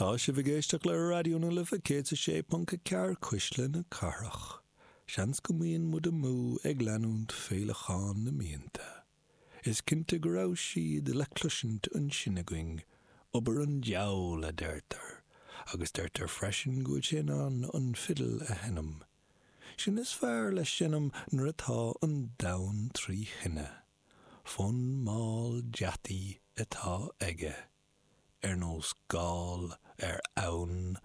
Tá sibh ag éisteacht le Raidió na Life 106.4 Cuisle na Cathrach. Seans go mbíonn muid amú ag leanúint féileachán na mianta. Is cinnte go raibh siad le cloisint ansin againn, obair an diabhail a deirtear, agus deirtear freisin go bhfuil sé in ann an fidil a sheinm. Sin is fearr le seinm nuair atá an domhan tri thine. Fonn mall deataí atá aige. ar nós gal ar abhainn.